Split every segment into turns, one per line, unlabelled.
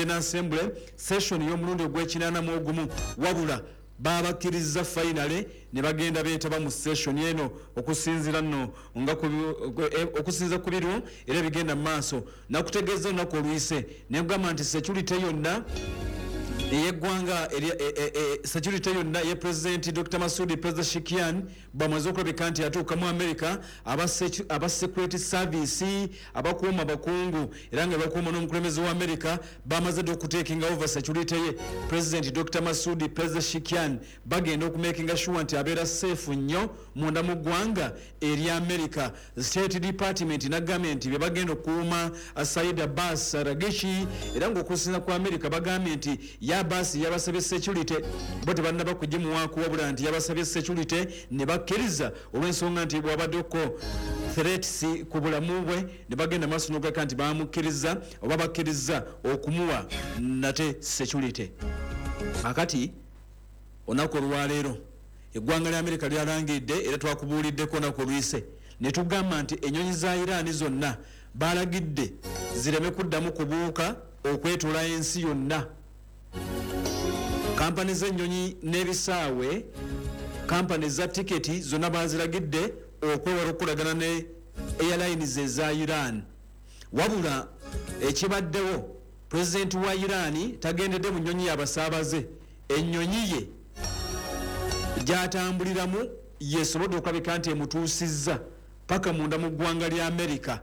General Assembly session y'omulundi ogw'ekinana mu ogumu, wabula babakkiriza finally ne bagenda beetaba mu session eno. Okusinziira nno nga okusinziira ku biriwo era ebigenda mu maaso, nakutegeeza olunaku oluyise nekugamba nti security yonna eyeggwanga, security yonna ye President Dr Masudi Pezeshkian bwamaze okulabika nti atuuka mu America, aba security service abakuuma abakungu era nga bakuuma n'omukulembeze wa America bamaze dde okutekinga over security ye President Dr Masudi Pezeshkian. Bagenda okumakinga sure nti abeera safe nnyo munda mu ggwanga erya America. State Department nagambye nti bebagenda okukuuma Said Abbas Araghchi, era ngaokusinza ku America bagambye nti ye Abbas yabasabye security, bo tebannaba kugimuwaako, wabula nti yabasabye security ne bakkiriza olw'ensonga nti bwabaddeko threats ku bulamu bwe, ne bagenda maaso n'okuleka nti bamukkiriza oba bakkiriza okumuwa nate security. Akati olunaku olwaleero eggwanga lya Amerika lyalangiridde, era twakubuuliddeko olunaku oluyise ne tugamba nti ennyonyi za Iran zonna balagidde zireme kuddamu kubuuka okwetoola ensi yonna. Kampani z'ennyonyi n'ebisaawe, kampani za tiketi zonna baziragidde okwewala okukolagana ne airlines eza Iran. Wabula ekibaddewo, pulezidenti wa Iran tagendedde mu nnyonyi y'abasaabaze. Ennyonyi ye gyatambuliramu yesobodde okulabika nti emutuusizza paka munda mu ggwanga lya Amerika.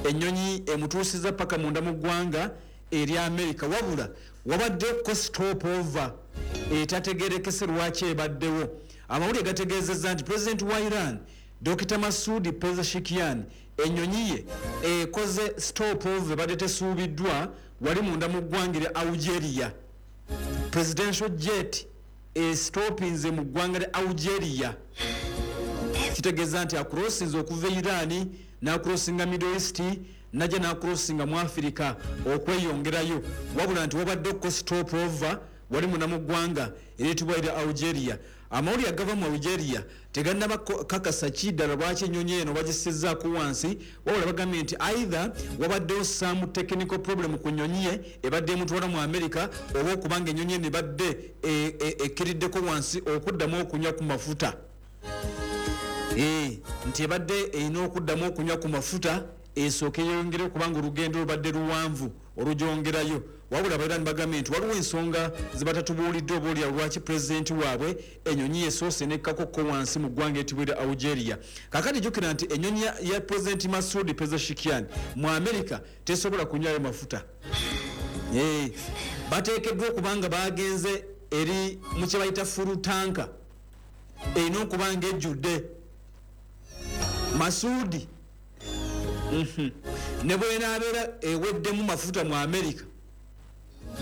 Ennyonyi emutuusizza paka munda mu ggwanga erya Amerika, wabula wabaddeko stop over etategerekese lwaki ebaddewo. Amawulire gategeezezza nti pulezidenti wa Iran Dr Masudi Pezeshkian ennyonyi ye ekoze stop over ebadde tesuubiddwa wali munda mu ggwanga erya Algeria. Presidential jet estopinze mu ggwanga lya Algeria, kitegeeza nti acrossinze okuva e Iran n'acrossinga Middle East, najja n'acrossinga mu Africa okweyongerayo, wabula nti wabadde okko stop over wali muna mu ggwanga eryetibwa erya Algeria. Amawulire agava mu Algeria tegannaba kakasa ki ddala lwaki ennyonyi eno bagisizzaako wansi, wabula bagambye nti either wabaddewo some technical problem ku nnyonyi ye ebadde emutwala mu America, oba okubanga ennyonyi eno ebadde ekkiriddeko wansi okuddamu okunywa ku mafuta, nti ebadde erina okuddamu okunywa ku mafuta esooke yeyongere kubanga olugendo lubadde luwanvu olugyongerayo. Wabula abairani bagambye nti waliwo ensonga zebatatubuulidde oba olya lwaki pulezidenti waabwe ennyonyi yesoose nekkakokko wansi mu ggwanga etibwa erya Algeria. Kakati jjukira nti ennyonyi ya Pulezidenti Masudi Pezeshkian mu America tesobola kunywayo mafuta. Bateekeddwa okuba nga bagenze eri mu kye bayita full tank, erina okuba nga ejjudde. Masuudi ne bwenaabeera eweddemu mafuta mu America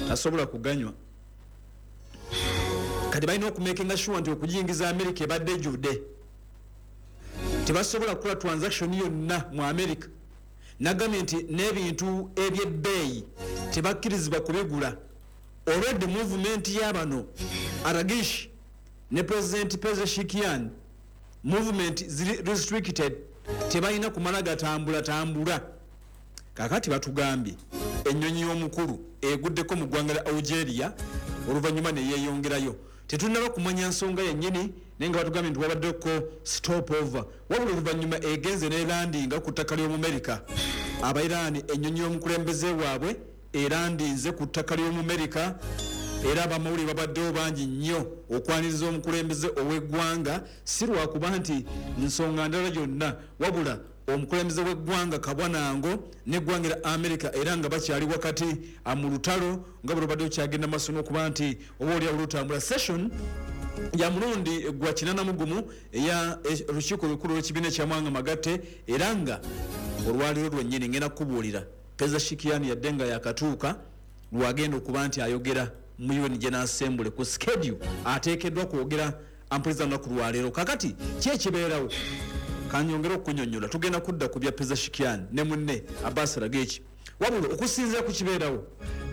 tasobola kuganywa. Kati balina okumakinga sure nti okuyingiza America ebadde ejjudde. Tebasobola kukola transaction yonna mu America. Nagambye nti n'ebintu ebyebbeeyi tebakkirizibwa kubigula olwedde movement y'abano Araghchi ne President Pezeshkian, movement ziri restricted, tebalina kumala gatambula tambula. Kakati batugambye ennyonyi y'omukulu eguddeko mu ggwanga lya Algeria oluvannyuma neyeyongerayo. Tetunnaba kumanya nsonga yennyini, naye nga batugambye nti wabaddeko stop over, wabula oluvannyuma egenze nelandinga ku ttaka ly'Omumerika. Abairaani, ennyonyi y'omukulembeze waabwe erandinze ku ttaka ly'Omumerika, era abamawulire babaddewo bangi nnyo okwaniriza omukulembeze ow'eggwanga, si lwakuba nti nsonga ndala yonna, wabula omukulembeze w'eggwanga kabwanango n'eggwanga lya America, era nga bakyali wakati mu lutalo nga bwe lubadde lukyagenda maaso n'okuba nti oba oliawo lutambula. Session ya mulundi gwa 81 eya olukiiko olukulu olw'ekibiina ekyamawanga magatte, era nga olwaliro lwennyini ngenda kukubuulira Pezeshkian yadde nga yakatuuka lwagenda okuba nti ayogera mu UN General Assembly ku schedule ateekeddwa kwogera ampuliza lunaku lwaleero. Kakati ki ekibeerawo? Kanyongere okukunyonyola, tugenda kudda ku bya Pezeshkian ne munne Abbas Araghchi, wabula okusinziira ku kibeerawo,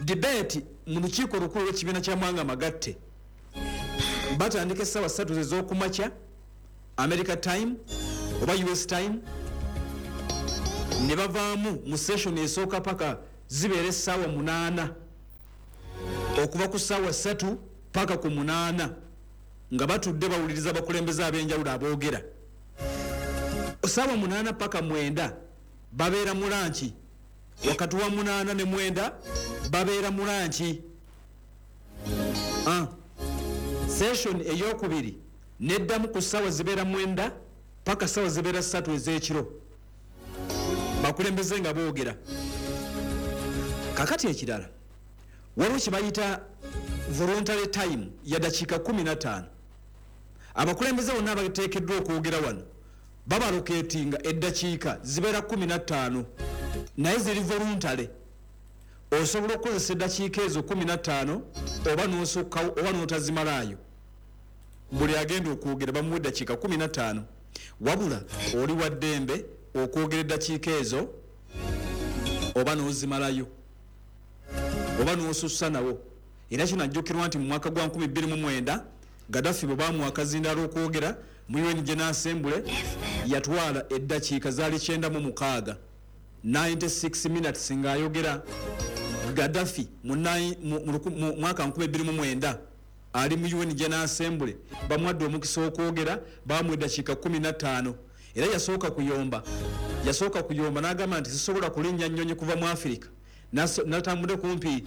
debate mu lukiiko olukulu lw'ekibiina kyamawanga magatte batandika essaawa 3 ez'okumakya America time oba US time, ne bavaamu mu session esooka paka zibeera essaawa 8. Okuva ku ssaawa 3 paka ku 8 nga batudde bawuliriza abakulembeze ab'enjawulo aboogera. Ssaawa 8 paka 9 babeera mu lunch. Wakati wa 8 ne 9 babeera mu lunch. Session eyokubiri neddamu ku ssaawa zibeera 9 paka ssaawa zibeera 3 ez'ekiro, bakulembeze nga boogera. Kakati ekirala, waliwo kye bayita voluntary time ya dakiika 15. Abakulembeze bonna abateekeddwa okwogera wano babalockatinga eddakiika zibeera 15, naye ziri voluntary. Osobola okukozesa eddakiika ezo 15 oba n'osukkawo oba n'otazimalaayo. Buli agenda okwogera bamuwa eddakiika 15, wabula oli wa ddembe okwogera eddakiika ezo oba n'ozimalayo oba n'osussa nawo. Era kinajjukirwa nti mu mwaka gwa 2009 Gaddafi bwe bamuwa akazindaalo okwogera mu UN General Assembly, yatwala eddakiika zaali 96, 96 minutes ng'ayogera. Gaddafi mu mwaka 2009 ali mu UN General Assembly, bamuwadde omukisa okwogera, bamuwa eddakiika 15. Era yasooka kuyomba n'agamba nti sisobola kulinnya nnyonyi kuva mu Afirika natambudde kumpi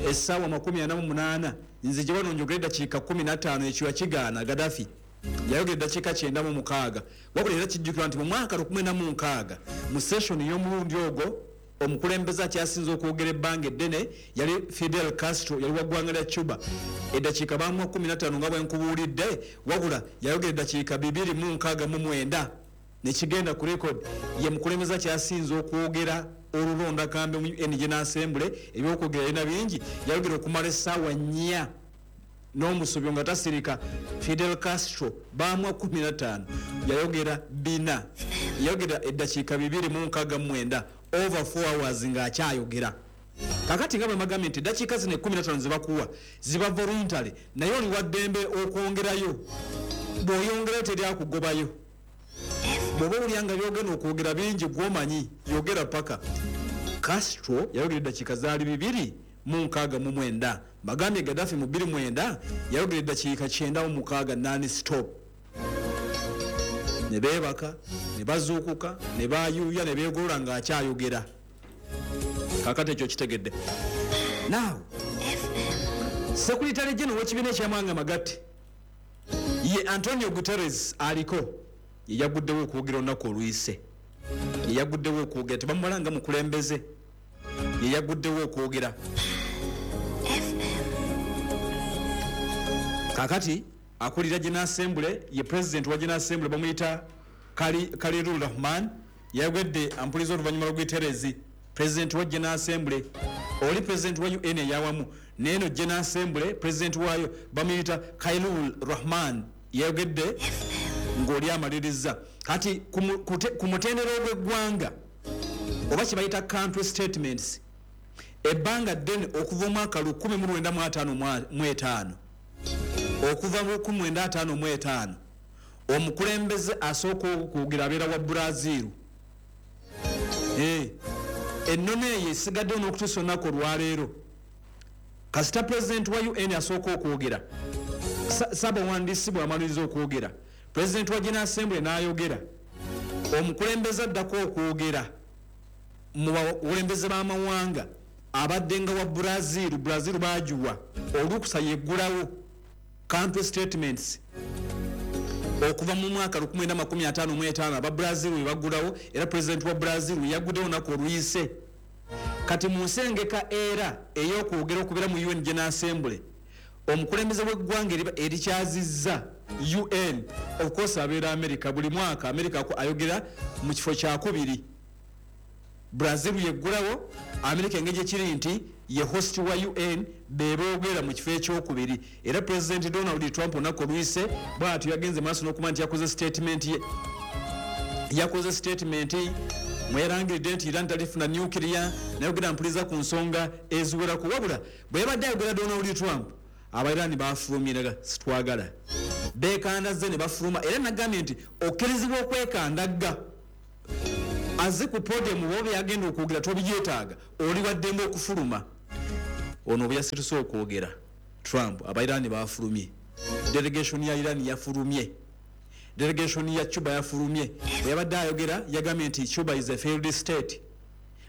essaawa 48, nzije wano njogere eddakiika 15. Ekyo yakigaana. Gaddafi yayogera eddakiika 96. Wabula era kijjukirwa nti mu mwaka 1960 mu session y'omulundi ogwo, omukulembeze akyasinze okwogera ebbanga eddene yali Fidel Castro, yali wa ggwanga lya Cuba. Eddakiika bamuwa 15 nga bwenkubuulidde, wabula yayogera eddakiika 269 nekigenda ku record. Ye mukulembeze akyasinze okwogera olulonda kambe mu UN General Assembly. Ebyokwogera yalina bingi, yayogera okumala essaawa 4 n'omusobyo nga tasirika. Fidel Castro bamuwa 15, yayogera bina, yayogera eddakiika 269, over 4 hours ng'akyayogera. Kakati nga bwe magambye nti eddakiika zino 15 zebakuwa ziba voluntary, naye oli wa ddembe okwongerayo. Bw'oyongerayo teryakugobayo. Bw'oba owulira nga byogenda okwogera bingi, gwomanyi yogera paka. Castro yayogera eddakiika zaali 269. Bagambye Gaddafi mu 29 yayogera eddakiika 96 non stop, ne beebaka ne bazuukuka ne bayuuya ne beegolola ng'akyayogera. Kakati ekyo kitegedde. Now, Secretary General w'ekibiina ekyamawanga magatte ye Antonio Guterres aliko, ye yaguddewo okwogera olunaku oluyise. Ye yaguddewo okwogera, tebamumala nga mukulembeze, ye yaguddewo okwogera. Kakati akulira General Assembly ye president wa General Assembly, bamuyita Khalilur Rahman. Yayogedde ampuliza oluvannyuma lwa Guterres, president wa General Assembly. Oli president wa UN eyawamu, neeno General Assembly president waayo bamuyita Khalilur Rahman, yayogedde ng'oli amaliriza. Kati ku mutendera ogw'eggwanga oba kye bayita country statements, ebbanga ddene okuva omwaka 1955, okuva mu 1955, omukulembeze asooka okwogera abeera wa Brazil. Ennono eyo esigaddewo n'okutuusa olunaku olwaleero. Kasita pulezidenti wa UN asooka okwogera, saabawandiisi bw'amaliriza okwogera, pulezidenti wa General Assembly n'ayogera, omukulembeze addako okwogera mu bakulembeze b'amawanga abadde nga wa Brazil. Brazil bagiwa olukusa yeggulawo country statements okuva mu mwaka 1955, aba Brazil we baggulawo, era pulezidenti wa Brazil yaguddewo olunaku oluyise. Kati mu nsengeka era ey'okwogera okubeera mu UN General Assembly, omukulembeze w'eggwanga erikyazizza UN, of course abeera America. Buli mwaka America ayogera mu kifo kyakubiri. Brazil yeggulawo, America engeri ekiri nti ye host wa UN, beboogera mu kifo ekyokubiri. Era President Donald Trump olunaku oluyise bwatyo yagenze maaso n'okuba nti yakoze statement ye, yakoze statement mweyalangiridde nti Iran talifuna nuclear, nayogera mpuliza ku nsonga eziwerako. Wabula bwe yabadde ayogera Donald Trump, Abairani bafulumiraga, sitwagala, bekandazze ne bafuluma. Era nagambye nti okkirizibwa okwekandagga aze ku podium, oba byagenda okwogera tobyetaaga, oli waddembe okufuluma. Ono bwe yasirise okwogera Trump, Abairani bafulumye, delegation ya Iran yafulumye, delegation ya Cuba yafulumye. Bwe yabadde ayogera yagambye nti Cuba is a failed state.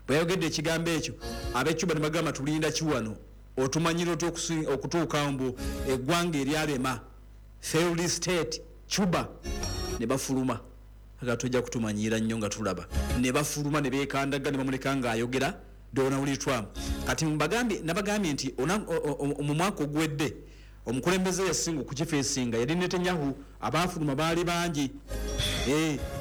Bwe yayogedde ekigambo ekyo, ab'e Cuba ne bagamba, "Tulinda ki wano? Otumanyire otya okutuuka mbu eggwanga eryalema, failed state Cuba?" Ne bafuluma. Aga tojja kutumanyiira nnyo nga tulaba. Ne bafuluma ne beekandaga ne bamuleka ng'ayogera Donald Trump. Kati nabagambye nti mu mwaka oguwedde omukulembeze yasinga okukifeesinga yali Netanyahu. Abaafuluma baali bangi.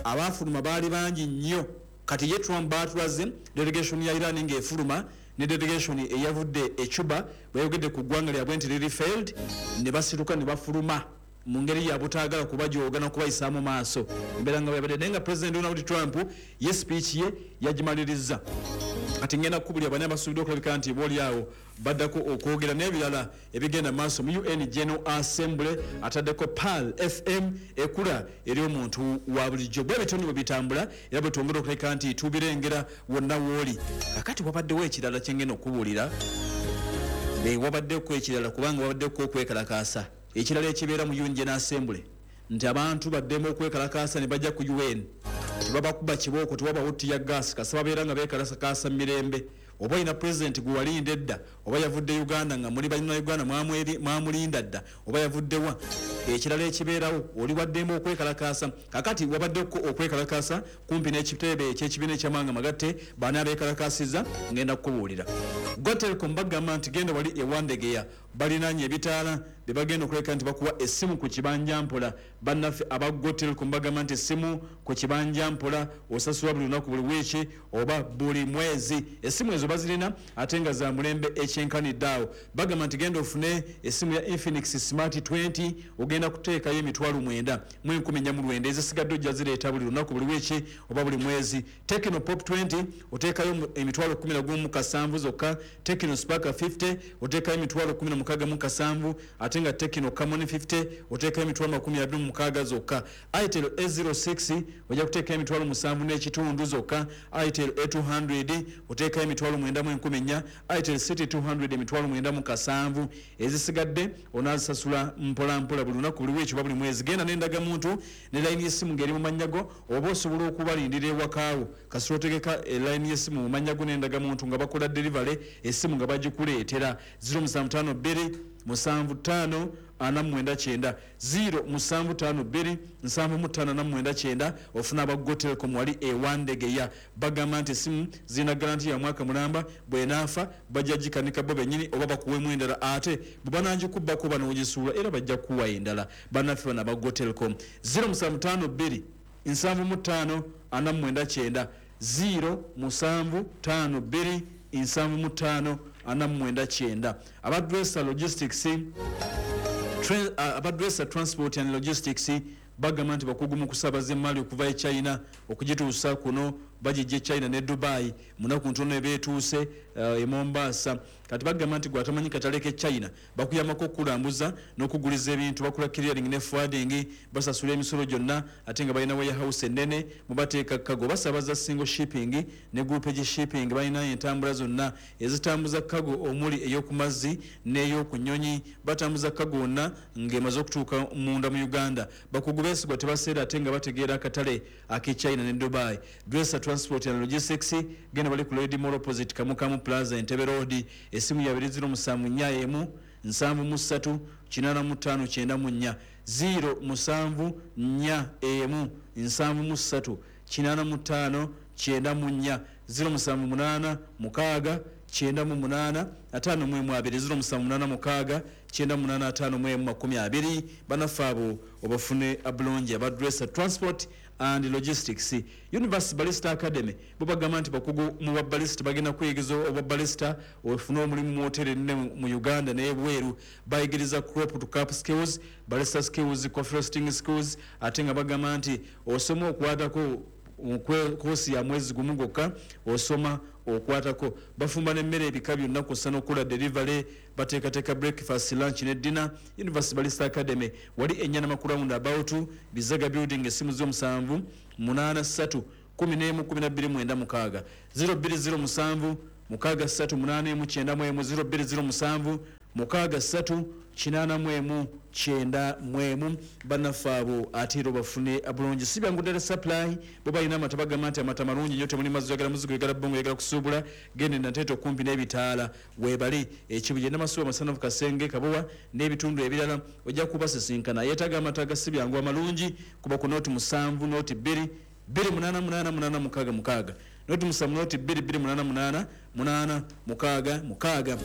Abaafuluma baali bangi nnyo. Kati ye Trump batulaze delegation ya Iran ng'efuluma ne delegation eyavudde e Cuba. Bweyogedde ku ggwanga lyabwe nti liri failed, ne basituka ne bafuluma mu ngeri ya butaagala kubajooga nakubayisaamu maaso. Embeera nga bweyabadde, naye nga President Donald Trump ye speech ye yagimaliriza. Kati ngenda kukubulira bani abasuubidde okulabika nti booli awo baddako okwogera n'ebirala ebigenda maaso mu UN General Assembly. Ataddeko Pearl FM ekula eri omuntu wa bulijjo. Bwe bityo bwe bitambula era bwe twongera okuleka nti tubirengera wonna wooli. Kakati wabaddewo ekirala kyengenda okubuulira. Wabaddeko ekirala kubanga wabaddeko okwekalakaasa ekirala ekibeera mu UN General Assembly, nti abantu baddemu okwekalakaasa ne bajja ku UN, tebabakuba kibooko, tewabawo tear gas, kasa babeera nga beekalakaasa mu mirembe. Oba olina pulezidenti gwe walinda edda, oba yavudde Uganda nga muli balina Uganda mwamulinda dda, oba yavuddewa, ekirala ekibeerawo oli waddembe okwekalakaasa. Kakati wabaddeko okwekalakaasa kumpi n'ekitebe ekyekibiina ekyamawanga magatte. Baani abeekalakaasiza? Ngenda kukubuulira. Gotelcom bagamba nti genda wali ewandegeya, balinanye ebitaala bebagenda okuleka nti bakuwa essimu ku kibanja mpola. Bannaffe aba Gotelcom bagamba nti essimu ku kibanja mpola, osasula buli lunaku, buli wiiki oba buli mwezi. Essimu ezo bazirina ate nga za mulembe ekyenkanidde awo. Bagamba nti genda ofune essimu ya Infinix Smart 20, ogenda kuteekayo 94,409, ezisigadde ojja zireeta buli lunaku, buli wiiki oba buli mwezi. Tecno Pop 20 oteekayo 11,700 zokka. Tecno Spark 50 oteekayo 16,700, ate nga Tecno Camon 50 oteekayo 26,000 zokka. Itel A06 ojja kuteekayo 7,500 zokka. Itel A200 oteekayo 9,400. Itel City 200 9,700, ezisigadde onaazisasula mpolampola, buli lunaku, buli wiiki oba buli mwezi. Genda n'endagamuntu ne layini y'essimu ng'eri mu mannya go, oba osobola okubalindira ewakaawo kasita otegeka elayini y'essimu mu mannya go n'endagamuntu nga bakola delivery, essimu nga bagikuleetera. 0752 75 49, 0752 75 49, ofuna aba Gotelcom wali ewandegeya. Bagamba nti esimu zirina guarantee ya mwaka mulamba, bwenaafa bajja gikanika bo bennyini oba bakuwemu endala, ate bwe banagikubbako banoogisuula era bajja kukuwa endala. Bannaffe bano aba Gotelcom, 0752 75 49, 0752 75 49. Abadresa Logistics, Abadresa Transport and Logistics bagamba nti bakugu mu kusaabaza emaali okuva e China okugituusa kuno. Bagijja e China ne Dubai, munaku ntono ebeetuuse e Mombasa. Kati bagamba nti gwatamanyi katale ke China, bakuyambako okulambuza n'okuguliza ebintu. Bakola clearing ne forwarding, basasula emisolo gyonna, ate nga balina warehouse ennene mubateeka cargo. Basaabaza single shipping ne groupage shipping. Balina entambula zonna ezitambuza cargo, omuli ey'oku mazzi n'ey'oku nnyonyi. Batambuza cargo wonna ng'emaze okutuuka munda mu Uganda. Bakugu beesigwa, tebaseera, ate nga bategeera akatale ak'e China ne Dubai. Dresser Transport and Logistics, genda bali ku Lady Mall opposite Kamukamu Plaza, Entebbe Road. Essimu yabiri 0741 73 85 94, 0741 73 85 94, 0786 98 51 20, 0786 98 51 20. Bannaffe abo obafune abulungi, abadressa Transport and Logistics. Universe Barista Academy bo bagamba nti bakugu mu babarista, bagenda kuyigiriza obabarista ofune omulimu mu hoteri ennene mu Uganda n'ebweru. Bayigiriza crop to cup skills, barista skills, coffee roasting skills, ate nga bagamba nti osoma okwatako koosi ya mwezi gumu gwokka, osoma okwatako. Bafumba n'emmere ebika byonna kw'ossa n'okukola delivery. Bateekateeka breakfast, lunch ne dinner. University Barista Academy wali Enyanama ku round about Bizaga Building. Essimu z'omusanvu 83 11 12 96, 0207. 6 3 8 1 9 0 2 0 7 6 3 8 1 9 bannaffe abo ate era obafune bulungi. Si byangu ddala supply bo balina amata, bagamba nti amata malungi nnyo, temuli mazzi, oyagala muzigo, oyagala bbongo, oyagala kusuubula, genda Nateete okumpi n'ebitaala weebale Ekibuye Namasuba Masanafu Kasenge Kabowa n'ebitundu ebirala ojja kubasisinkana. Yeetaaga amata ga si byangu amalungi kuba ku 07 02 2 8 8 8 6 6 07 02 2 8 8 8 6 6.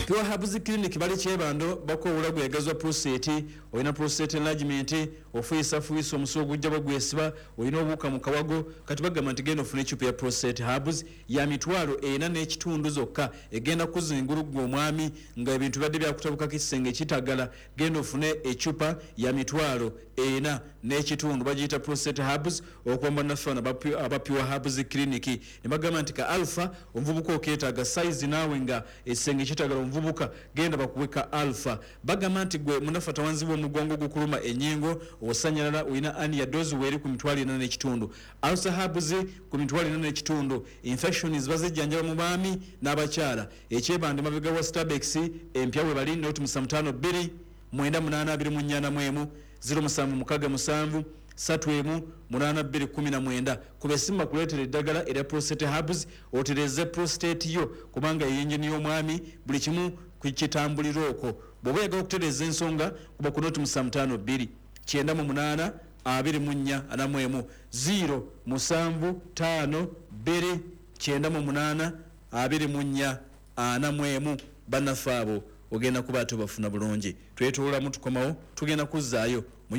Pure Herbs Clinic bali Kyebando, bakowula gwegazwa prostate, olina prostate enlargement, ofuyisafuyiisa omusuwa ogujja bagwesiba, olina obuwuka mu kawago, kati bagamba nti genda ofune ecupa ya prostate herbs ya 45,000 zokka, egenda kuzingulu ggwe omwami nga ebintu bibadde byakutabukako ekisenge kitagala, genda ofune ecupa ya 45,000, bagiyita prostate herbs okuva mu bannaffe bano aba Pure Herbs Clinic. Ne bagamba nti ka alpha omuvubuka okeetaaga size naawe nga ekisenge kitagala omuvubuka, genda bakuwe ka alpha. Bagamba nti gwe munafa tawanzibwa omugongo gukuluma ennyingo osanyalala, olina ania dozi weeri ku 45,000, alpha herbs ku 45,000. Infections bazijjanjaba mu baami n'abakyala. Ekyebande mabega wa Starbucks empya we bali 075 2 98 24 0767 31 82 19. Kuba essimu bakuleetera eddagala erya prostate herbs otereeze prostate yo, kubanga eyingini y'omwami buli kimu kitambulira okwo. Bw'oba oyagala okutereeza ensonga kuba ku 075 2 98 24 41 0 7 5 2 98 24 41. Bannaffe abo ogenda kuba ate obafuna bulungi. Twetoololamu tukomawo, tugenda kuzzaayo mu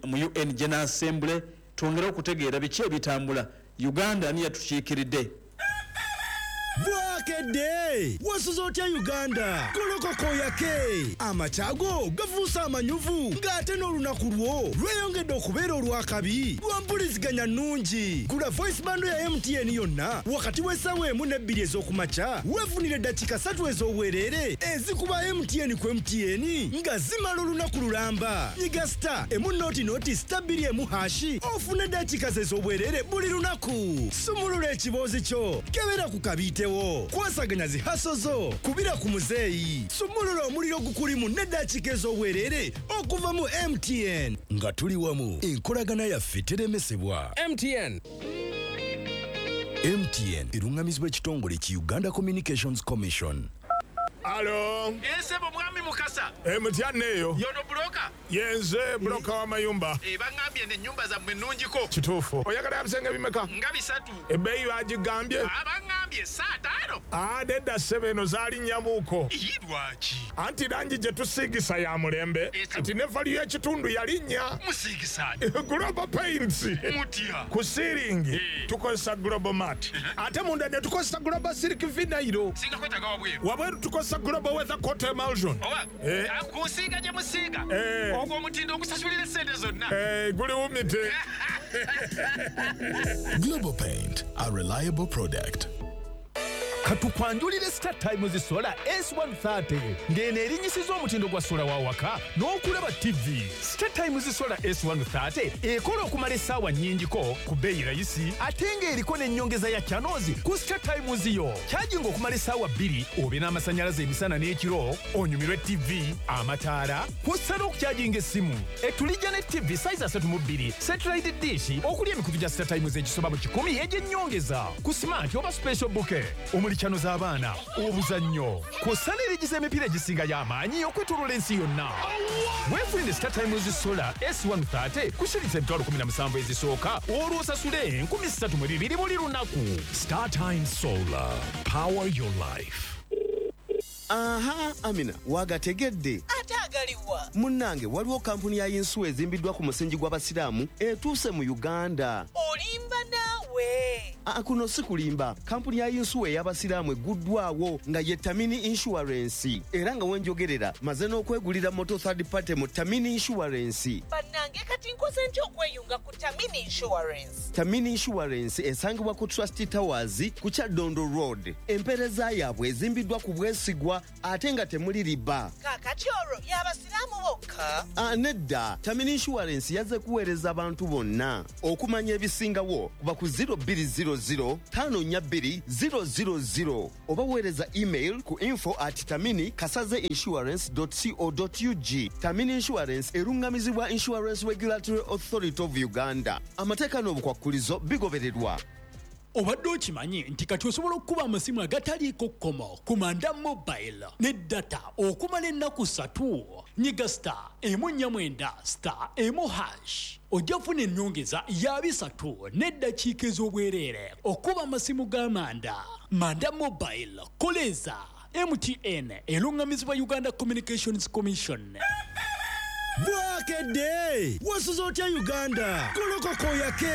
UN General Assembly twongere okutegeera biki ebitambula. Uganda ani yatukiikiridde?
Bwakedde! Wasuze otya Uganda? Golokoka oyake! Amakya go gafuuse amanyuvu ng'ate n'olunaku lwo lweyongedde okubeera olw'akabi lwa mpuliziganya nnungi. Gula voice bundle ya MTN yonna wakati w'essaawa 1 ne 2 ez'okumakya weefunire eddakiika 3 ez'obwereere ezikuba MTN ku MTN nga zimala olunaku lulamba. Nyiga star emu noti noti star bbiri emu hashi ofune eddakiika ze ez'obwereere buli lunaku. Sumulula ekiboozi kyo, kebera ku kabiitewo, kwasaganya zi haso zo, kubira ku muzeeyi, sumulula omuliro gukulimu n'eddakiika ez'obwereere okuva mu MTN. Nga tuli wamu, enkolagana yaffe teremesebwa.
MTN.
MTN erungamizibwa ekitongole ki Uganda Communications Commission.
Alo.
Esebo mwami Mukasa.
Mutya eyo.
Yono broker.
Yenze broker w'amayumba.
Bangambye n'ennyumba zammwe nnungiko.
Kituufu. Oyagala ebisenge bimeka?
Nga 3.
Ebbeeyi bagigambye?
Bangambye 5.
Nedda ssebo, eno zaalinnyamuuko.
Lwaki?
Anti langi gye tusiigisa ya mulembe. Kati ne value y'ekitundu yalinnya.
Musiigisa.
Global Paints.
Mutya.
Ku siiringi tukozesa Global Mat. Ate munda ne tukozesa Global Silk Vinyl.
Singa kwetaaga wabweru.
Wabweru tukozesa Global Weather Coat Emulsion.
Kusiiga gye musiiga. Ogwo omutindo ogusasulira essente zonna.
Guliwumite.
Global Paint, a reliable product.
Katukwanjulire Star Times Solar S130 ng'eno erinnyisiza omutindo gwa sola wa waka n'okulaba TV. Star Times Solar S130 ekola okumala essaawa nnyingiko ku bbeeyi rayisi ate ng'eriko n'ennyongeza ya channels ku Star Times yo. Kyajinga okumala essaawa 2 obe n'amasannyalaze emisana n'ekiro, onyumirwe TV, amataala, kw'ossa n'okukyajinga essimu. Etulijja ne TV size 32, satellite dish okuli emikutu gya Star Times egisoba mu 100 egy'ennyongeza ku smart oba special bouquet omuli channel z'abaana, obuzannyo, kw'ossa n'erigiza emipiira egisinga y'amaanyi okwetooloola ensi yonna. Weefunire Star Times Solar S130 ku shilingi 17,000 ezisooka olwo osasule 3,200 buli lunaku.
Star Times Solar, power your life.
Aha, Amina, wagategedde.
Ate agaliwa?
Munnange, waliwo kampuni ya yinsuwa ezimbiddwa ku musingi gw'Abasiraamu etuuse mu Uganda.
Olimba naawe.
Kuno si kulimba. Kampuni ya yinsuwa ey'Abasiraamu egguddwawo nga ye Tamini Insurance. Era nga wenjogerera maze n'okwegulira moto third party mu Tamini Insurance.
Bannange Bannange, kati nkoze ntya okweyunga ku Tamini Insurance?
Tamini Insurance esangibwa ku Trust Towers ku Kyaddondo Road. Empeereza yaabwe ezimbiddwa ku bwesigwa ate nga temuli riba.
Kaakati olwo y'abasiraamu bokka?
Ah, nedda. Tamini Insurance yazze kuweereza abantu bonna. Okumanya ebisingawo kuba ku 0200 542 000 oba weereza email ku info@taminikasaze.insurance.co.ug. Tamini Insurance erungamizibwa Insurance Regulatory Authority of Uganda. Amateeka n'obukwakkulizo bigobererwa.
Obadde okimanyi nti kati osobola okukuba amasimu agataliiko kkomo ku Manda Mobile ne data okumala ennaku 3? Nyiga *149*1# ojja kufuna ennyongeza ya 300 n'eddakiika ez'obwereere okuba amasimu ga Manda. Manda Mobile, koleza MTN, erungamizibwa Uganda Communications Commission.
Bwakedde, wasuze otya Uganda? Golokoka oyake.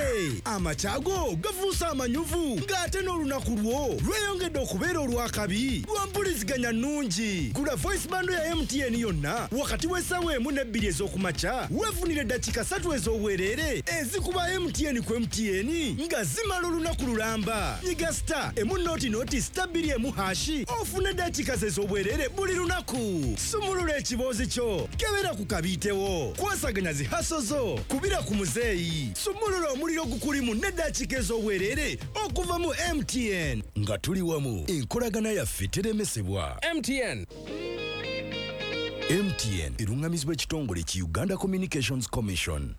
Amakyago gafuuse amanyuvu ng'ate n'olunaku lwo lweyongedde okubeera olwakabi lwa mpuliziganya nnungi. Gula voice bundle ya MTN yonna wakati w'essaawa 1 ne 2 ez'okumakya, weefunire eddakiika 3 ez'obwereere ezikuba MTN ku MTN nga zimala olunaku lulamba. Nyiga *100*21# ofune eddakiika ez'obwereere buli lunaku. Sumulula ekiboozi kyo, kebera ku kabiitewo, kwasaganya zihaso zo, kubira ku muzeeyi, sumulula omuliro gukulimu n'eddakiika ez'obwereere okuva mu MTN. Nga tuli wamu, enkolagana yaffe teremesebwa.
MTN.
MTN erungamizibwa ekitongole ki Uganda Communications Commission.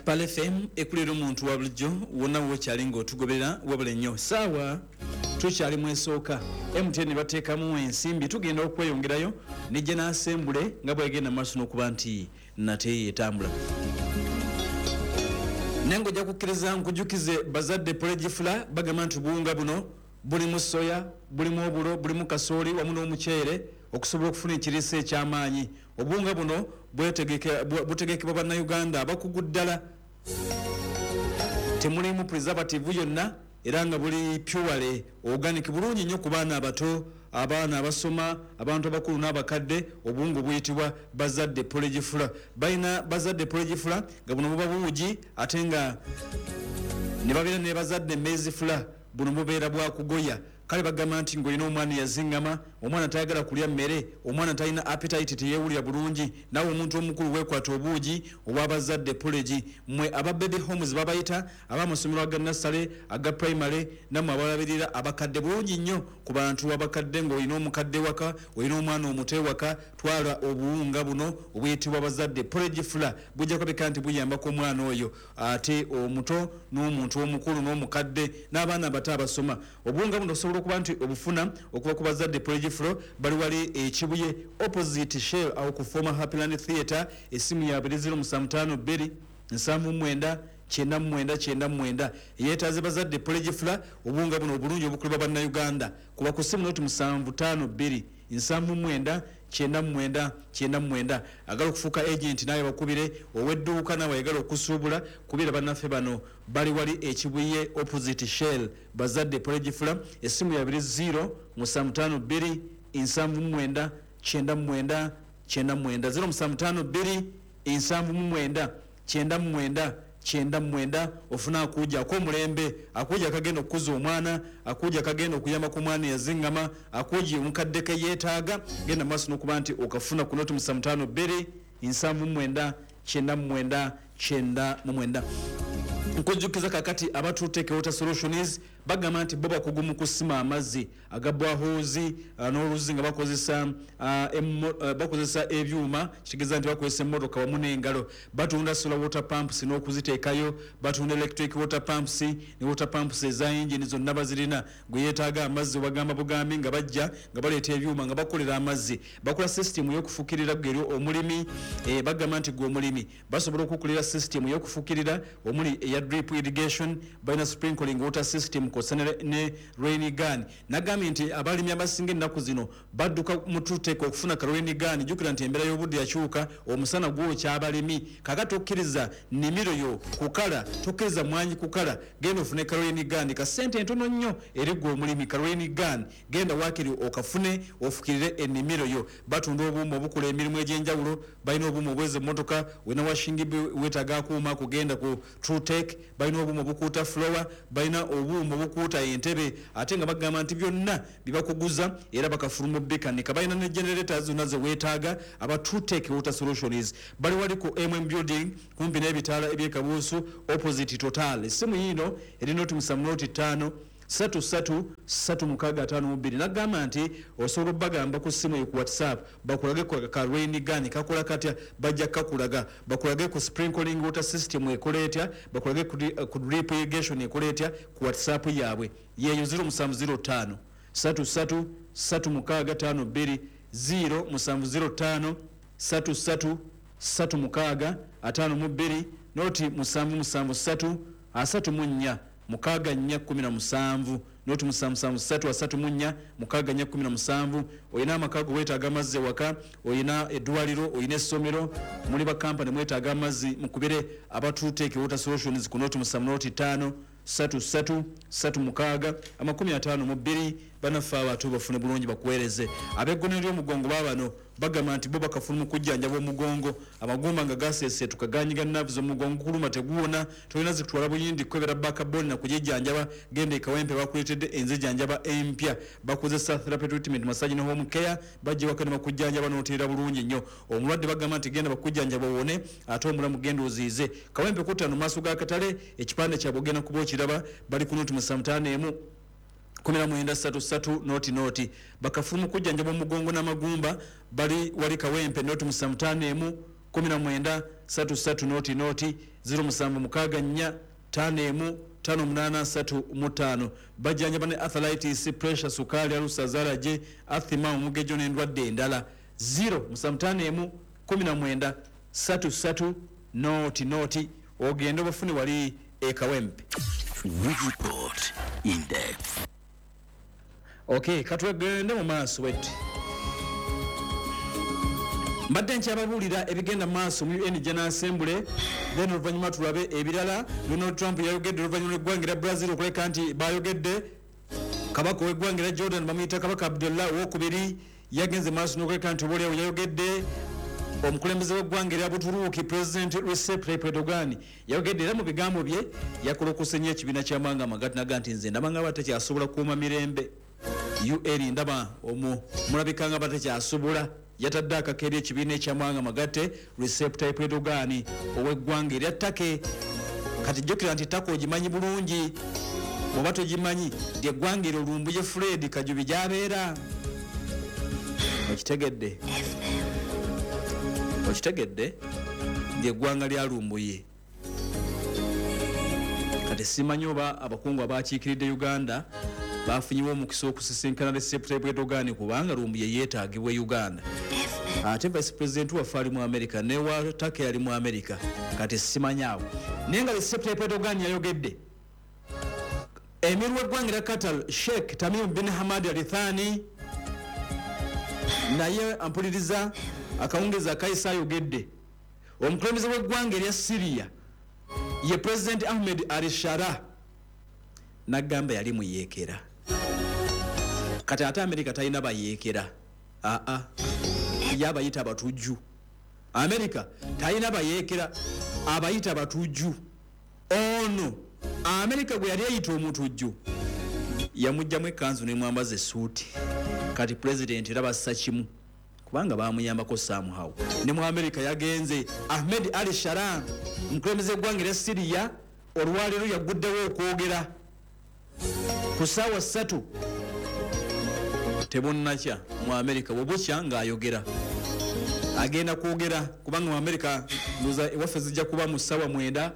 Pal FM ekulera omuntu wa bulijjo wonna wokyali ng'otugoberera, wabula nnyo saawa tukyali mu esooka. MTN bateekamu ensimbi, tugenda okweyongerayo ne n'asembule nga bwegenda maaso n'okuba nti nate etambula. Naye ng'ojja kukkiriza nkujukize bazadde porridge flour bagamba nti obuwunga buno bulimu soya, bulimu obulo, bulimu kasooli wamu n'omuceere okusobola okufuna ekiriisa eky'amaanyi. Obuwunga buno butegekebwa bannayuganda abakugu ddala, temulimu preservative yonna era nga buli purely organic, bulungi nnyo ku baana abato, abaana abasoma, abantu abakulu n'abakadde. Obuwunga buyitibwa bazadde porridge flour. Balina bazadde porridge flour nga buno buba buugi, ate nga ne babeera ne bazadde maize flour, buno bubeera bwakugoya. Kale bagamba nti ng'olina omwana yazingama, omwana tayagala kulya mmere, omwana talina appetite, teyeewulira bulungi, naawe omuntu omukulu weekwata obuugi obwabazadde porridge. Mmwe aba baby homes babayita, ab'amasomero aga nursery, aga primary, nammwe abalabirira abakadde, bulungi nnyo ku bantu abakadde. Ng'olina omukadde waka, olina omwana omuto ewaka, twala obuwunga buno obuyitibwa bazadde porridge flour, bujja kulabika nti buyambako omwana oyo ate omuto n'omuntu omukulu n'omukadde n'abaana abato abasoma. Obuwunga buno osobola okuba nti obufuna okuva ku bazadde porridge flour, bali wali Ekibuye opposite Shell awo ku former Happyland Theatre. Essimu yaabwe eri 0752 79 99 99. Yeetaaze bazadde porridge flour, obuwunga buno obulungi obukulibwa bannayuganda, kuba ku ssimu noti 752 79 99 99. Agala okufuuka agent naye bakubire, ow'edduuka nawe ayagala okusuubula kubira bannaffe bano bali wali Ekibuye opposite Shell, bazadde porridge flour. Essimu yabiri 0752 79 99 99, 0752 79 99 99. Ofuna akuja ak'omulembe, akuja akagenda okukuza omwana, akuja akagenda okuyamba ku mwana yazingama, akuja omukadde ke yeetaaga. Genda maaso n'okuba nti okafuna ku noti 752 79 99 99. Nkujjukiza kakati abatuteeke Water Solutions bagamba nti bo bakugu mu kusima amazzi aga boreholes n'oluzzi nga bakozesa ebyuma, kitegeeza nti bakozesa emmotoka wamu n'engalo. Batunda solar water pumps n'okuziteekayo, batunda electric water pumps ne water pumps eza engine zonna bazirina. Gwe yeetaaga amazzi obagamba bugambi nga bajja nga baleeta ebyuma nga bakolera amazzi. Bakola system y'okufukirira gwe omulimi, bagamba nti gwe omulimi basobola okukulira system y'okufukirira omuli eya drip irrigation, balina sprinkling water system kwossa ne rain gun. Nagambye nti abalimi abasinga ennaku zino badduka mu Trutech okufuna ka rain gun. Jjukira nti embeera y'obudde yakyuka, omusana gwokya abalimi. Kakati okkiriza nnimiro yo kukala, tokkiriza mwanyi kukala, genda ofune ka rain gun ka ssente entono nnyo eri ggwe omulimi. Ka rain gun genda waakiri okafune ofukirire ennimiro yo. Batunda obuuma obukola emirimu egy'enjawulo, balina obuuma obweza emmotoka, wena washingi weetaaga akuuma kugenda ku Trutech, balina obuuma obukuuta floor, balina obuuma obukuuta entebe, ate nga bagamba nti byonna bibakuguza era bakafuluma bikanika. Balina ne generators zonna ze weetaaga. Aba Trutech Water Solutions bali wali ku MM Building kumpi n'ebitaala eby'e Kabuusu, opposite Total. Essimu yiino eri 075 33 3652. Nagamba nti osobola obbagamba ku ssimu eyo ku WhatsApp bakulage ka rain gun kakola katya, bajja kakulaga, bakulage ku sprinkling water system ekola etya, bakulage ku drip irrigation ekola etya ku WhatsApp yaabwe yeeyo 0705 33 3652, 0705 33 3652, 0773 34 64 17, 0773 34 64 17. Oyina amaka go weetaaga amazzi ewaka, oyina eddwaliro, oyina essomero, muli bakampani mwetaaga amazzi, mukubire aba Trutech Water Solutions ku 075 33 36 52. Banaffe abantu bafune bulungi bakuweereze. Ab'eggone ly'omugongo baabano bagamba nti bo bakafuna mu kujjanjaba omugongo, amagumba nga gaseeseetuka, ganyiga nerves, omugongo kuluma teguwona, tolina zikutwala Buyindi kukwebera backbone na kugijjanjaba, genda e Kawempe bakuleetedde enzijjanjaba empya. Bakozesa therapy, treatment, massage ne home care. Bajja waka ne bakujjanjaba n'oteera bulungi nnyo. Omulwadde bagamba nti genda bakujjanjaba owone, ate omulamu genda oziize. Kawempe 5 maaso g'akatale, ekipande kyabwe ogenda kuba okiraba. Bali ku 075 19 33 00. Bakafulu mu kujjanjaba omugongo n'amagumba, bali wali Kawempe, 075 19 33 00, 0764 51 58 35. Bajjanjaba ne arthritis, pressure, sukaali, ulcers, allergy, asthma, omugejo n'endwadde endala. 0751 19 33 00, ogende obafune wali e Kawempe.
We report in depth.
Okay, katwegende mu maaso wetti. Mbadde nkyababuulira ebigenda mu maaso mu UN General Assembly, then oluvannyuma tulabe ebirala. Donald Trump yayogedde oluvannyuma lw'eggwanga erya Brazil okuleka nti bayogedde. Kabaka ow'eggwanga erya Jordan bamuyita Kabaka Abdullah owokubiri, yagenze maaso n'okuleka nti obaoliawo yayogedde. Omukulembeze w'eggwanga erya Buturuuki, President Recep Tayyip Erdogan, yayogedde, era mu bigambo bye yakolokose nnyo ekibiina ky'amawanga amagatte, naga nti nze ndaba nga batakyasobola kukuuma mirembe UN, ndaba omwo mulabika nga batakyasobola. Yatadde akaka eri ekibiina ekyamawanga amagatte, Recep Tayyip Erdogan ow'eggwanga erya Turkey. Kati jjukira nti Turkey ogimanyi bulungi, oba togimanyi, lyeggwanga eryo Lumbuye Fred Kajubi gy'abeera. Okitegedde? Okitegedde? Lyeggwanga lya Lumbuye. Kati simanyi oba abakungu abakiikiridde Uganda bafunyiwa omukisa okusisinkana Recep Tayyip Erdogan, kubanga Lumbuye yeetaagibwa e Uganda, ate vice president waffe ali mu America, newa Turkey ali mu America. Kati simanyi awo, naye nga Recep Tayyip Erdogan yayogedde. Emir w'eggwanga erya Qatar, Sheikh Tamim bin Hamad Al Thani, naye ampuliriza akawungezi akayisa ayogedde. Omukulembeze w'eggwanga erya Syria ye President Ahmed Al Shara, nagamba yali muyeekera. Kati ate Amerika talina bayeekera, aa, ye abayita abatujju. Amerika talina bayeekera, abayita abatujju. Ono Amerika gwe yali eyita omutujju yamugjamu ekkanzu nemwambaza essuuti. Kati pulezidenti era bassa kimu kubanga bamuyambako somehow. Ne mu Amerika yagenze. Ahmed Ali Sharan, omukulembeze w'eggwanga erya Siriya, olwaleero yaguddewo okwogera ku ssaawa 3 tebunnakya mu Amerika. Bwebukya ng'ayogera, agenda kwogera, kubanga mu Amerika ndoza ewaffe zijja kuba mu ssaawa 9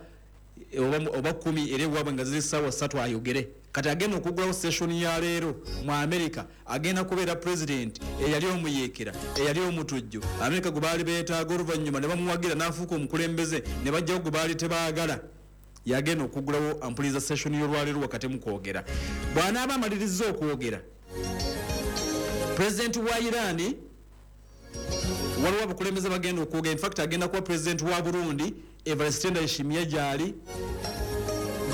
oba 10, era ewaabwe nga ziri ssaawa 3 ayogere. Kati agenda okuggulawo session ya leero mu Amerika agenda kubeera president eyali omuyeekera, eyali omutujju, Amerika gwe baali beetaaga, oluvannyuma ne bamuwagira n'afuuka omukulembeze, ne bajjawo gwe baali tebaagala. Yagenda okuggulawo ampuliza session y'olwaleero wakati mu kwogera. Bw'anaaba amalirizza okwogera, pulezidenti wa Iran, waliwo abakulembeze bagenda okwogera. Infact, agenda kuba pulezidenti wa Burundi, Evariste Ndayishimiye, gyali.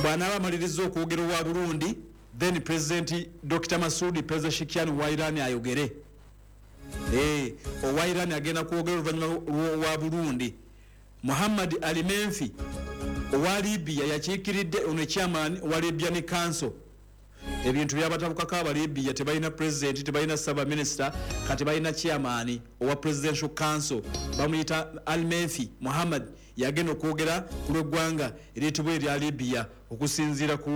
Bw'anaaba amalirizza okwogera owa Burundi, then President Dr Masudi Pezeshkian wa Iran ayogere. Owa Iran agenda kwogera oluvannyuma lwa Burundi. Muhammad Ali Menfi owa Libya yakiikiridde, ono chairman wa Libyan Council. Ebintu byabatabukako aba Libya, tebalina president, tebalina saba minister, kati balina chairman owa Presidential Council, bamuyita Al Menfi Muhammad. Yagenda okwogera ku lw'eggwanga eriyitibwa erya Libya. Okusinziira ku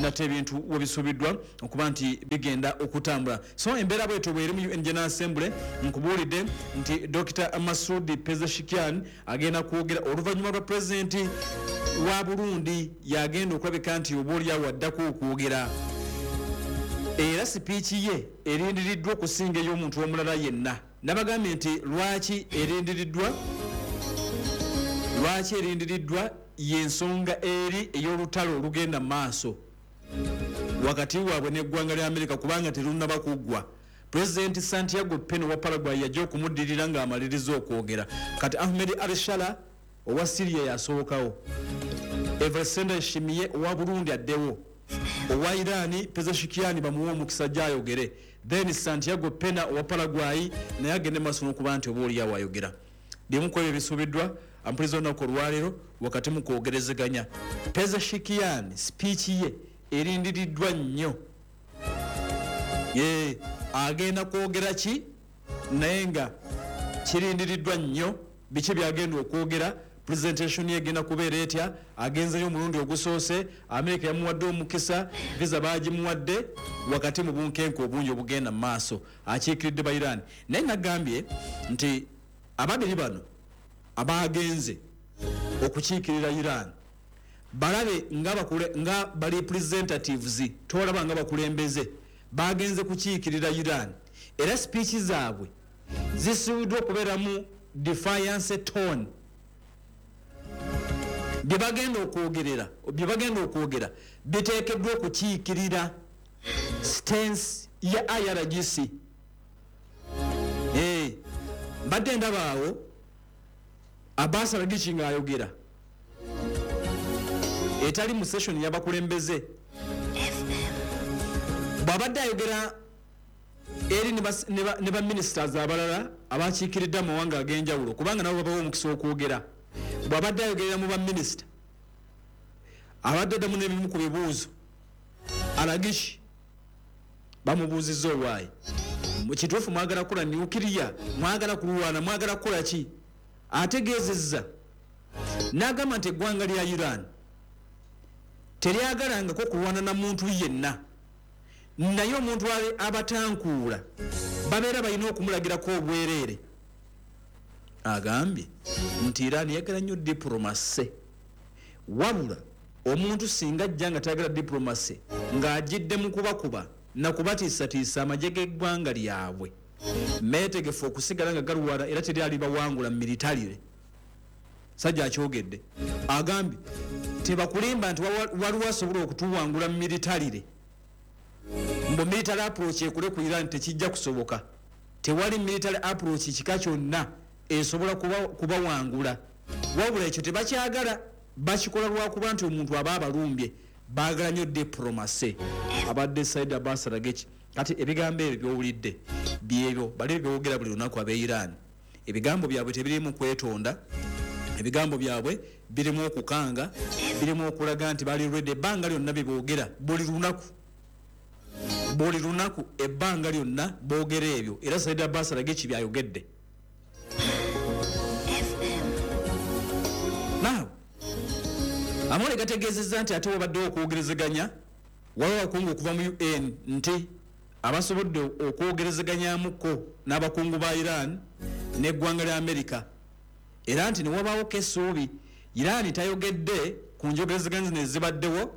nate ebintu webisuubiddwa okuba nti bigenda okutambula, so embeera bwetyo bweri mu UN General Assembly. Nkubuulidde nti Dr Masudi Pezeshkian agenda kwogera oluvannyuma lwa pulezidenti wa Burundi, yagenda okulabika nti oba oliawo addako okwogera, era sipiiki ye erindiriddwa okusinga ey'omuntu omulala yenna. Nabagambye nti lwaki erindiriddwa, lwaki erindiriddwa, yensonga eri ey'olutalo olugenda mu maaso wakati waabwe n'eggwanga lya Amerika, kubanga terunnaba kuggwa. Pulezidenti Santiago Pena wa Paraguay yajja okumuddirira ng'amaliriza okwogera. Kati Ahmed Al-Sharaa owa Syria yasookawo, Evariste Ndayishimiye owa Burundi addewo, owa Iran Pezeshkian bamuwe omukisa gyayogere, then Santiago Pena owa Paraguay naye agende maaso n'okuba nti oba oliawo ayogera. Bimu ku ebyo ebisuubiddwa, ampuliza, olunaku olwaleero wakati mu kwogerezeganya. Pezeshkian speech ye erindiriddwa nnyo. Ye agenda kwogera ki? Naye nga kirindiriddwa nnyo, biki byagenda okwogera? Presentation ye egenda kubeera etya? Agenzeyo omulundi ogusoose, Amerika yamuwadde omukisa, visa bagimuwadde wakati mu bunkenke obungi obugenda mu maaso. Akiikiridde ba Iran, naye nagambye nti ababiri bano abagenze okukiikirira Iran balabe nga ba representatives, tolaba nga bakulembeze, bagenze kukiikirira Iran, era speech zaabwe zisuubiddwa okubeeramu defiance tone. Bye bagenda okwogerera, bye bagenda okwogera biteekeddwa okukiikirira stance ya IRGC. Mbadde ndabaawo Abbas Araghchi ng'ayogera etali mu session y'abakulembeze. Bw'abadde ayogera eri ne ba ministers abalala abakiikiridde amawanga ag'enjawulo, kubanga nabo babawa omukisa okwogera, bw'abadde ayogerera mu baminisita, abadde addamu n'ebimu ku bibuuzo. Araghchi bamubuuzizza, "Owaayi, mu kituufu mwagala kukola nuclear? Mwagala kulwana? Mwagala kukola ki?" Ategeezezza n'agamba nti eggwanga lya Iran teryagalangako kulwana na muntu yenna, naye omuntu ali abatankuula babeera balina okumulagirako obwereere. Agambye nti Iran yagala nnyo diplomacy, wabula omuntu singa ajja nga tayagala diplomacy, ng'agidde mu kubakuba nakubatiisatiisa, amagye g'eggwanga lyabwe meetegefu okusigala nga galwana, era teri alibawangula militarily. Sajja akyogedde, agambye tebakulimba nti waliwo asobola okutuwangula militarily, mbu military approach ekule ku Iran, tekijja kusoboka. Tewali military approach kika kyonna esobola kubawangula, wabula ekyo tebakyagala, bakikola lwakuba nti omuntu aba abalumbye. Baagala nnyo diplomacy. Abadde Said Abbas Araghchi. Kati ebigambo ebyo byowulidde byebyo bali byogera buli lunaku ab'e Iran. Ebigambo byabwe tebirimu kwetonda, ebigambo byabwe birimu okukanga, birimu okulaga nti bali ready ebbanga lyonna. Byeboogera buli lunaku, buli lunaku, ebbanga lyonna boogera ebyo, era Said Abbas Araghchi byayogedde. Now, amawulire gategeezezza nti ate wabaddewo okwogerezeganya, waliwo abakungu okuva mu UN nti abasobodde okwogerezeganyamuko n'abakungu ba Iran n'eggwanga lya Amerika, era nti newabaawoko essuubi. Iran tayogedde ku njogerezeganya zino ezibaddewo,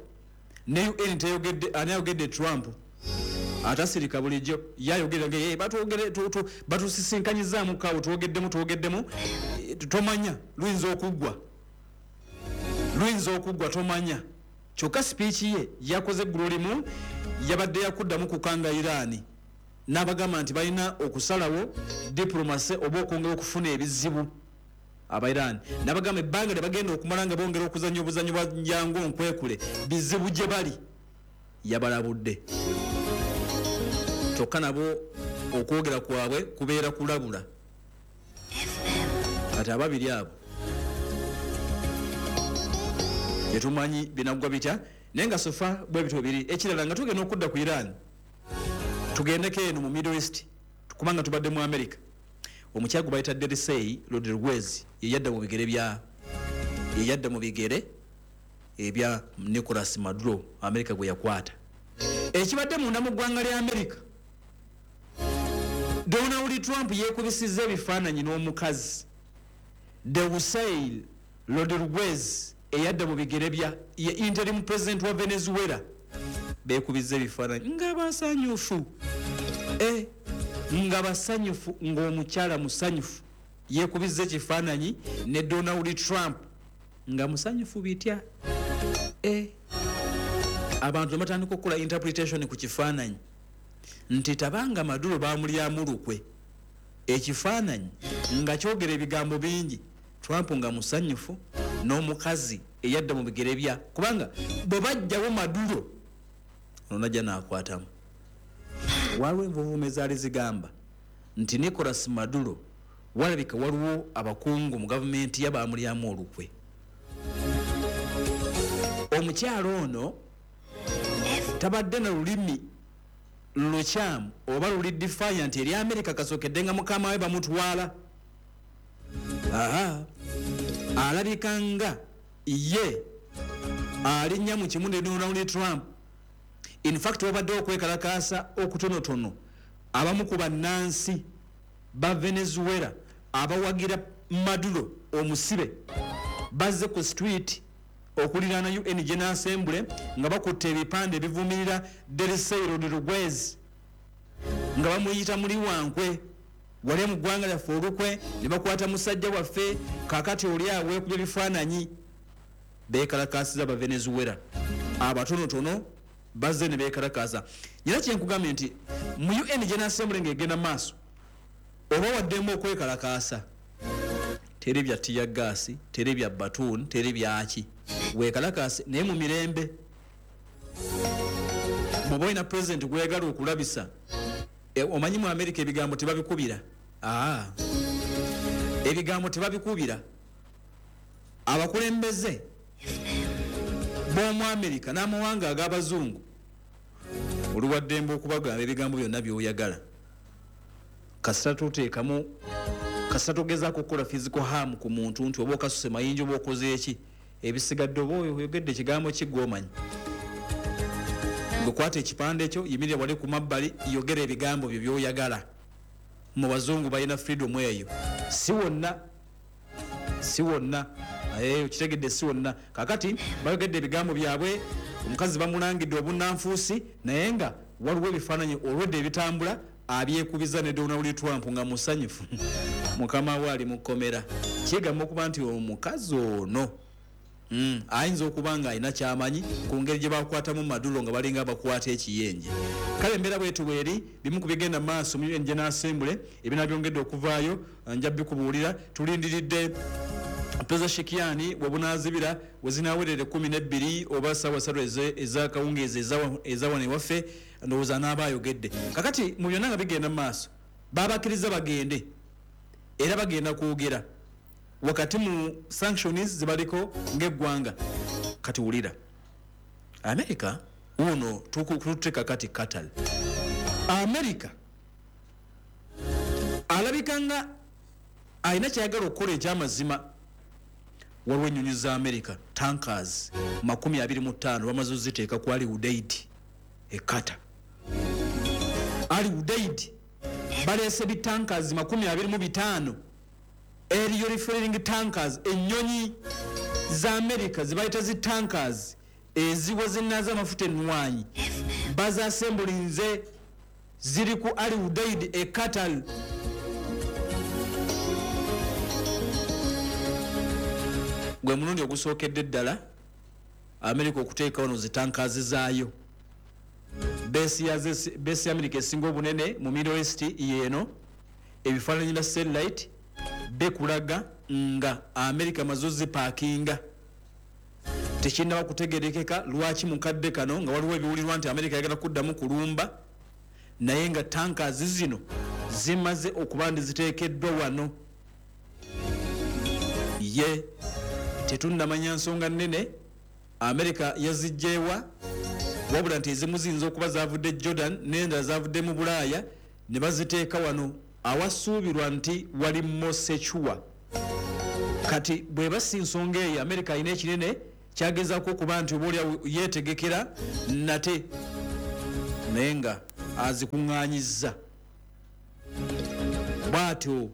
ne UN tayogedde. Ani ayogedde? Trump atasirika bulijjo yayogera nga, "Eh, batusisinkanyizaamu kaawo, twogeddemu, twogeddemu." Tomanya, luyinza okuggwa. Luyinza okuggwa tomanya. Kyokka sipiiki ye yakoze eggulo limu, yabadde yakuddamu kukanga Iran, n'abagamba nti balina okusalawo diplomacy oba okwongera okufuna ebizibu aba Iran, n'abagamba ebbanga lye bagenda okumala nga bongera okuzannya obuzannyo bwa njangu nkwekule bizibu gye bali. Yabalabudde, kyokka nabo okwogera kwabwe kubeera kulabula. Kati ababiri abo tetumanyi binaggwa bitya, naye nga so far bwe bityo biri. Ekirala, nga tugenda okudda ku Iran, tugendeko eno mu Middle East, kubanga tubadde mu America. Omukyala gwe bayita Delcy Rodriguez yeyadda mu bigere bya yeyadda mu bigere ebya Nicolas Maduro, America gwe yakwata. Ekibadde munda mu ggwanga lya America, Donald Trump yeekubisizza ebifaananyi n'omukazi Delcy Rodriguez eyadda mu bigere bya ye interim president wa Venezuela. Beekubizza ebifaananyi nga basanyufu, nga basanyufu, ng'omukyala musanyufu. Yeekubizza ekifaananyi ne Donald Trump nga musanyufu bitya. Abantu ne batandika okukola interpretation ku kifaananyi nti tabanga Maduro bamulyamu lukwe. Ekifaananyi nga kyogera ebigambo bingi, Trump nga musanyufu n'omukazi eyadda mu bigere bya, kubanga bwe bajjawo Maduro ono najja n'akwatamu. Waliwo envuvumo ezaali zigamba nti Nicolas Maduro walabika waliwo abakungu mu gavumenti yabamulyamu olukwe. Omukyalo ono tabadde na lulimi lukyamu oba luli defiant eri America kasookedde nga mukama we bamutwala. Aha, alabika nga ye alinnya mu kimu ne Donald Trump. In fact, wabaddewo okwekalakaasa okutonotono, abamu ku bannansi ba Venezuela abawagira Maduro omusibe bazze ku street okuliraana UN General Assembly nga bakutte ebipande ebivumirira Delcy Rodriguez, nga bamuyita muli wankwe, wali mu ggwanga lyaffe olukwe ne bakwata musajja waffe, kakati oli aweekubya ebifaananyi. Beekalakaasiza aba Venezuela abatonotono bazze ne beekalakaasa. Nyina kyenkugambye nti mu UN General Assembly ng'egenda maaso, oba waddemu okwekalakaasa, teri bya tear gas, teri bya baton, teri byaki, weekalakaase naye mu mirembe. Bw'oba olina president gweyagala okulabisa, omanyi mu America ebigambo tebabikubira. Ebigambo tebabikubira. Abakulembeze b'omu America n'amawanga ag'abazungu oluwaddembe okubagamba ebigambo byonna by'oyagala, kasita toteekamu, kasita togezaako okukola physical harm ku muntu, nti oba okasuse mayinja oba okoze eki, ebisigadde oba oyogedde ekigambo ki gw'omanyi. Gwe kwata ekipande ekyo, yimirira wali ku mabbali, yogera ebigambo byo by'oyagala. Mu bazungu balina freedom eyo, si wonna, si wonna, okitegedde, si wonna. Kakati bayogedde ebigambo byabwe, omukazi bamulangidde obunnanfuusi, naye nga waliwo ebifaananyi olwedde ebitambula abyekubiza ne Donald Trump nga musanyufu, mukama we ali mu kkomera. Kigamba okuba nti omukazi ono ayinza okuba nga alina kyamanyi ku ngeri gye bakwatamu Maduro nga balinga abakwata ekiyenje. Kale embeera bwetu bweri, bimu ku bigenda mu maaso mu UN General Assembly ebinabyongedde okuvaayo nja bikubuulira. Tulindiridde Pezeshkian we bunaazibira, we zinaawerera 12 oba 3:00 ez'akawungeezi ezawano ewaffe, ndowooza n'aba ayogedde. Kakati mu byonna nga bigenda mu maaso, babakkiriza bagende era bagenda kwogera wakati mu sanctions zibaliko ng'eggwanga. Kati wulira America wuno, tuteeka kati Qatar. America alabika nga alina kyayagala okukola ekyamazima. Waliwo ennyonyi za America tankers 25 bamaze oziteeka ku Al Udeid e Qatar. Al Udeid baleese bitankers 25, aerial refueling tankers. Ennyonyi za America zibayita zi tankers eziwa zinaaza amafuta ennwanyi, bazasembulinze, ziri ku Al Udeid e Qatar. Gwe mulundi ogusookedde ddala. Amerika okuteeka wano zitankers zaayo. Base ya Amerika esinga obunene mu Middle East yeeno. Ebifaananyi bya satellite bekulaga nga Amerika maze ozipaakinga. Tekinnaba kutegerekeka lwaki mukadde kano nga waliwo ebiwulirwa nti Amerika yagala kuddamu kulumba, naye nga tankers zino zimaze okuba nti ziteekeddwa wano. Ye tetunnamanya nsonga nnene Amerika yazijjeewa, wabula nti ezimu ziyinza okuba zavudde Jordan n'endala zavudde mu Bulaaya ne baziteeka wano awasuubirwa nti wali more secure. Kati bweba si nsonga eyo, Amerika alina ekinene kyagezaako okuba nti oba oliawo yeetegekera nate, naye nga azikuŋŋaanyizza. Bw'atyo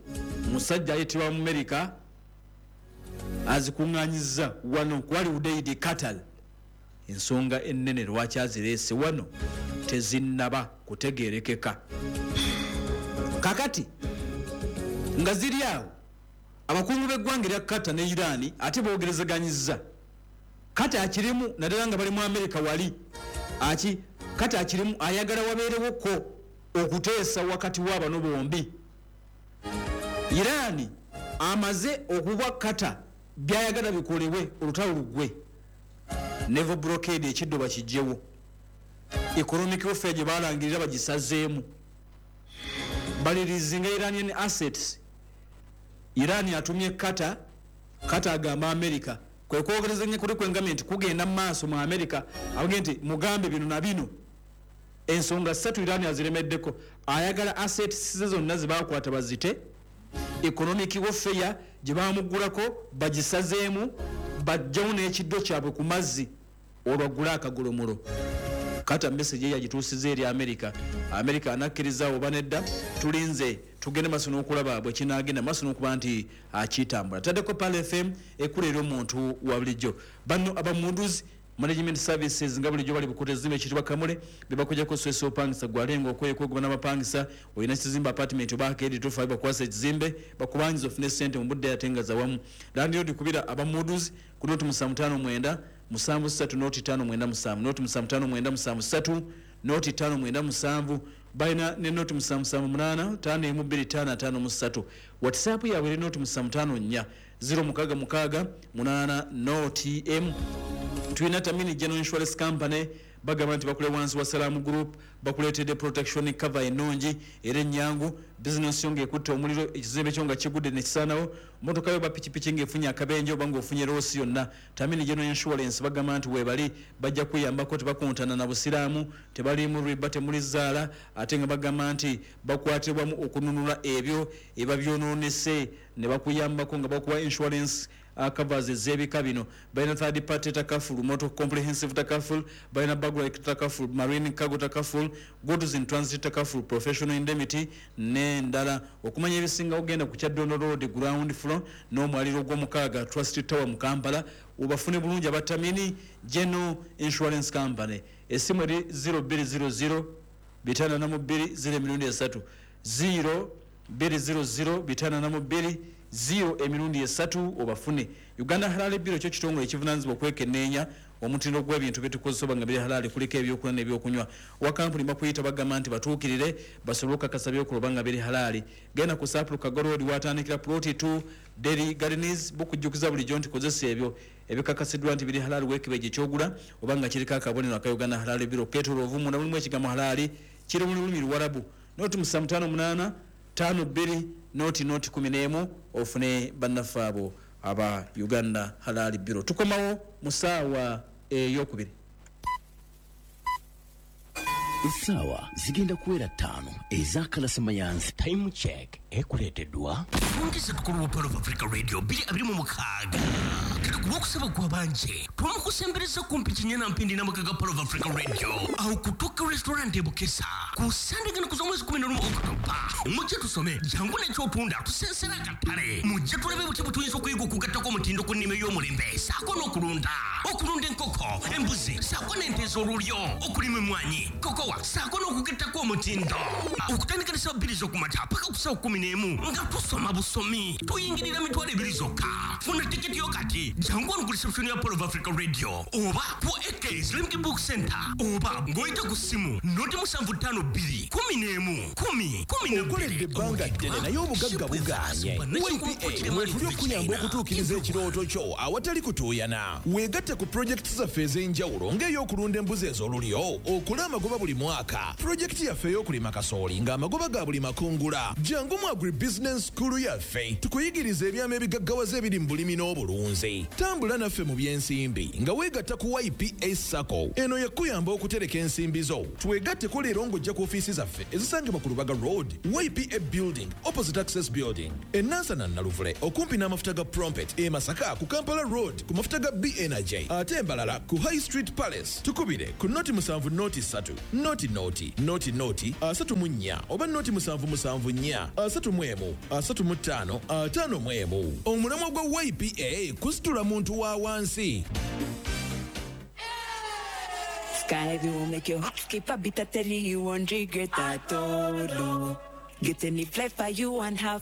musajja ayitibwa mu Amerika azikuŋŋaanyizza wano kwali Udeid, Qatar. Ensonga ennene lwaki azireese wano tezinnaba kutegerekeka. Kakati nga ziri awo, abakungu b'eggwanga erya Qatar ne Iran ate boogerezeganyizza. Qatar akirimu, naddala nga bali mu Amerika wali aki, Qatar akirimu ayagala wabeerewoko okuteesa wakati w'abano bombi. Iran amaze okuwa Qatar byayagala bikolebwe olutalo luggwe. Naval blockade ekiddo bakijjewo, economic warfare gye balangirira bagisazeemu, balirizinga Iranian assets. Iran atumye Qatar, Qatar agamba America. Kwe kwogerezanya kuli kwengamye nti kugenda mu maaso mu America, abagende nti mugambe bino na bino. Ensonga ssatu Iran aziremeddeko: ayagala assets ze zonna zebakwata bazite, economic warfare gye bamugulako bagisazeemu, bajjawo n'ekiddo kyabwe ku mazzi olwagula akagolomulo. Kata message ye yagituusiza eri America. America anakkiriza oba nedda, tulinze tugende maaso n'okulaba bwe kinaagenda maaso n'okuba nti akitambula. Taddeko Pearl FM ekula eri omuntu wa bulijjo. Bano abamunduzi Management Services nga bulijjo bali Bukuta, ezimba ekitibwa Kamule, bebakujjako stress opangisa gwalenga okwekwegoma n'abapangisa. Olina kizimbe, apartment oba arcade, tofa bakwasa ekizimbe bakubangiza ofune sente mu budde ate nga zawamu. Landlord, kubira abamunduzi ku 075 973 0 597, 075 973 0 597. Balina ne 077 8 512 553. WhatsApp yaabwe eri 0754 066 8 0 m. Tulina Tamini General Insurance Company, bagamba nti bakule wansi wa Salamu Group, bakuleetedde protection cover ennungi era ennyangu. Bizinesi yo ng'ekutte omuliro, ekizimbe kyo nga kigudde nekisaanawo, motoka yo bapikipiki ng'efunye akabenje oba ng'ofunye loss yonna, Tamini General Insurance bagamba nti weebali bajja kuyambako. Tebakontana na busiraamu, tebaliimu riba, temuli zaala, ate nga bagamba nti bakwatibwamu okununula ebyo eba byonoonese ne bakuyambako nga bakuwa insurance covers ez'ebika bino. Balina third party takaful, motor comprehensive takaful, balina burglary takaful, marine cargo takaful, goods in transit takaful, professional indemnity n'endala. Okumanya ebisinga ogenda ku Kyaddondo Road, ground floor, n'omwaliro gw'omukaaga, Trust Tower mu Kampala, obafune bulungi abatamini General Insurance Company. Essimu eri 0200 542 0 emirundi esatu, 0200 542 0 emirundi esatu, obafune. Uganda Halal Bureau kyo kitongole ekivunanyizibwa okwekenneenya omutindo gw'ebintu byetukozesa oba nga biri halali, kuliko ebyokulya n'ebyokunywa. Owa kampuni bakuyita, bagamba nti batuukirire basobole okukakasa byokola oba nga biri halali. Genda ku Sapulu Kago Road, watandikira Plot 2, Dairy Gardens. Bukujjukiza bulijjo nti kozesa ebyo ebikakasiddwa nti biri halali. Weekebeje kyogula oba nga kiriko akabonero aka Uganda Halal Bureau ketoloovu, munda mulimu ekigambo halali kiri mu lulimi Luwarabu. 078 52 00 11 ofune bannaffe abo aba Uganda Halal Bureau. Tukomawo mu ssaawa eyokubiri.
Essaawa zigenda kuwera 5 ez'akalasamayanzi.
Time Check ekuleeteddwa
Fungisa tukulu wa Pearl of Africa Radio 2026. Kati kulwokusaba gwabanje twamukusembereza kumpi kinyana mpindi n'amaka ga Pearl of Africa Radio awo kutuka restaurant ebukesa ku Sande gano kuza omwezi 11 Okutoba. Mujje tusome, jangu n'ekyotunda, tusensera akatale. Mujje tulabe butya bwe tuyinza okuyiga okugattako omutindo ku nnima ey'omulembe saako n'okulunda. Okulunda enkoko, embuzi saako n'ente ez'olulyo, okulima emmwanyi, kokowa saako n'okugettako omutindo. Okutandika ne ssaawa 2 z'okumakya paka ku ssaawa 11 nga tusoma busomi. Tuyingirira 20,000 zokka. Funa tiketi yo kati. Jangu wano ku reception ya Pearl of Africa Radio oba ku AK Islamic Book Center oba ng'oyita ku ssimu 075 2 11 10 12.
Okoledde ebbanga ddene naye obugagga bugaanye. YPA mwetuli okuyamba okutuukiriza ekirooto kyo awatali kutuuyana. Weegatte ku pulojekiti zaffe ez'enjawulo ng'ey'okulunda embuzi ez'olulyo okole amagoba buli mwaka, pulojekiti yaffe ey'okulima kasooli ng'amagoba ga buli makungula. Jangu mu agribusiness school yaffe tukuyigiriza ebyama ebigaggawaza ebiri mu bulimi n'obulunzi. Tambula naffe mu by'ensimbi nga weegatta ku YPA SACCO. Eno yakuyamba okutereka ensimbi zo. Twegatteko leero ng'ojja ku ofiisi zaffe ezisangibwa ku Lubaga Road, YPA Building, opposite Access Building, e Nansana Naluvule okumpi n'amafuta ga Prompet, e Masaka ku Kampala Road ku mafuta ga B Energy, ate embalala ku High Street Palace. Tukubire ku 070 3 00 00 34 oba 077 4 31 35 51. Omulamwa gwa YPA kusitula muntu wa wansi.
Sky will make your heart skip a beat. I tell you, you won't regret at all. Oh. Get any flavor you want, have